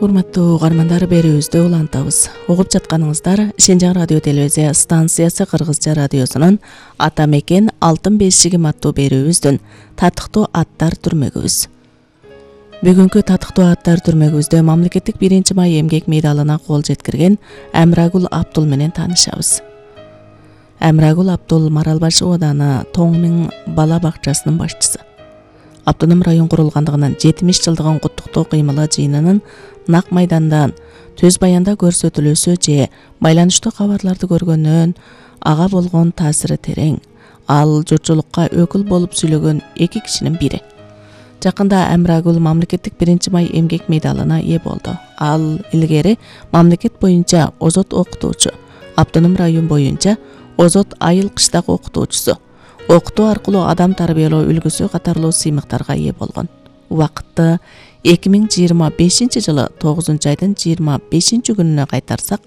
Урматтуу угармандар, берүүбүздү улантабыз. Угуп жатканыңыздар Шенжаң радио телевизия станциясы Кыргызча радиосунун Ата мекен алтын бешигим аттуу берүүбүздүн татыктуу аттар түрмөгүбүз. Бүгүнкү татыктуу аттар түрмөгүбүздө мамлекеттик 1-май эмгек медалына кол жеткирген Амрагул Абдул менен таанышабыз. Амрагул Абдул Маралбаш ооданы Тоң бала бакчасынын башчысы. Автоном район курулгандыгынын 70 жылдыгын куттуктоо кыймылы жыйынынын нак майдандан төз баянда көрсөтүлүүсү же байланыштуу кабарларды көргөндөн ага болгон таасири терең. Ал журтчулукка өкүл болуп сүйлөгөн 2 кишинин бири. Жакында Амрагул мамлекеттик 1-май эмгек медалына ээ болду. Ал илгери мамлекет боюнча озот окутуучу, автоном район боюнча озот айыл кыштак окутуучусу, окутуу аркылуу адам тарбиялоо үлгүсү катарлуу сыймыктарга ээ болгон. Убакытты 2025 жылы 9-айдын 25-күнүнө кайтарсак,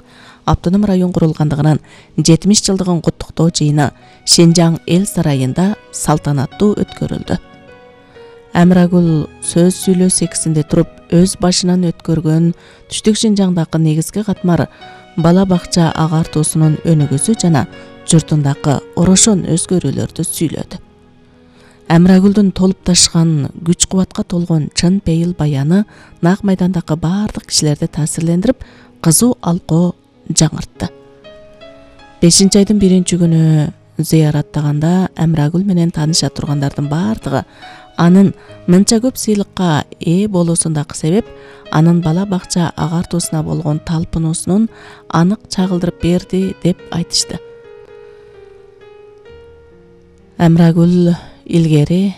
автоном район курулгандыгынын 70 жылдыгын куттуктоо жыйыны Шенжаң эл сарайында салтанаттуу өткөрүлдү. Амрагул сөз сүйлөө секисинде туруп өз башынан өткөргөн түштүк Шенжаңдагы негизги катмар бала бакча агартуусунун өнүгүүсү жана журтундагы орошон өзгөрүүлөрдү сүйлөдү. Амрагулдун толуп ташкан, күч кубатка толгон чын пейил баяны нак майдандагы баардык кишилерди таасирлендирип, кызуу алкоо жаңыртты. 5-айдын 1-күнү зыяраттаганда Амрагул менен тааныша тургандардын баардыгы анын мынча көп сыйлыкка ээ болуусундагы себеп анын бала бакча агартуусуна болгон талпынуусунун анык чагылдырып берди деп айтышты. Амрагул илгери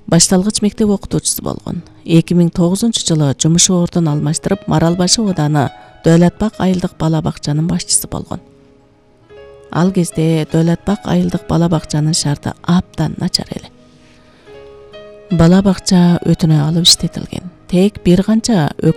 башталгыч мектеп окутуучусу болгон. 2009-жылы жумуш ордун алмаштырып, Маралбаш ооданы Дөөлөтбак айылдык бала бакчанын башчысы болгон. Ал кезде Дөөлөтбак айылдык бала бакчанын шарты абдан начар эле. Бала бакча өтүнө алып иштетилген. Тек бир канча